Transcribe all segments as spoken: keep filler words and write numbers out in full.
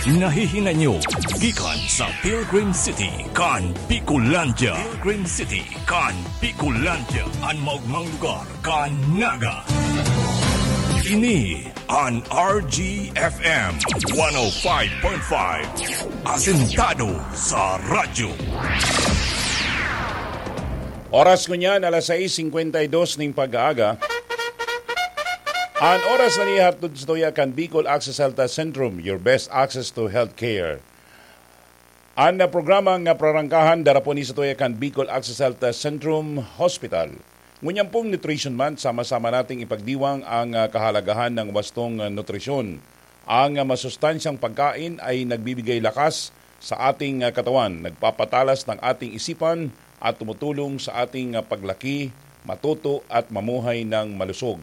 Nahihinay nyo gikan sa Pilgrim City kan Bicolandia. Pilgrim City kan Bicolandia, an maogmang lugar kan Naga. Ini an R G F M one oh five point five, asentado sa radyo. Oras ngunyan, alas sais singkwenta y dos ning pag-aaga. An oras na nihatod sa tuya kan Bicol Access Health Centrum, your best access to healthcare. An, ah, programa nga prarangkahan, darapon ni sa tuya kan Bicol Access Health Centrum Hospital. Ngunyan pong Nutrition Month, sama-sama nating ipagdiwang ang, ah, kahalagahan ng wastong, ah, nutrisyon. Ang, ah, masustansyang pagkain ay nagbibigay lakas sa ating, ah, katawan, nagpapatalas ng ating isipan at tumutulong sa ating, ah, paglaki, matuto at mamuhay ng malusog.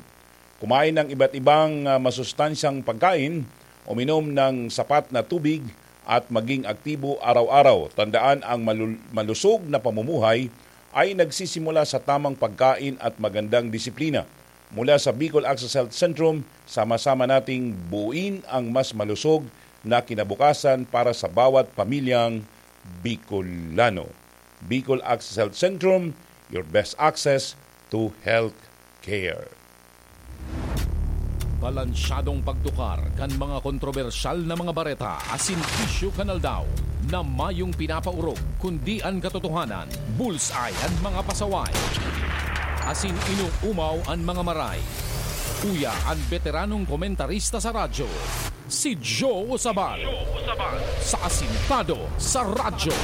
Kumain ng iba't ibang, ah, masustansyang pagkain, uminom ng sapat na tubig, at maging aktibo araw-araw. Tandaan, ang malul-, malusog na pamumuhay ay nagsisimula sa tamang pagkain at magandang disiplina. Mula sa Bicol Access Health Centrum, sama-sama nating buuin ang mas malusog na kinabukasan para sa bawat pamilyang Bicolano. Bicol Access Health Centrum, your best access to health care. Balansyadong pagtukar kan mga kontrobersyal na mga bareta asin isyu kan aldaw, na mayong pinapaorog, kundi an katotohanan. Bullseye an mga pasaway, asin inoomaw an mga maray. Uya an beteranong komentarista sa radyo, si Joe Usabal, sa Asintado sa Radyo.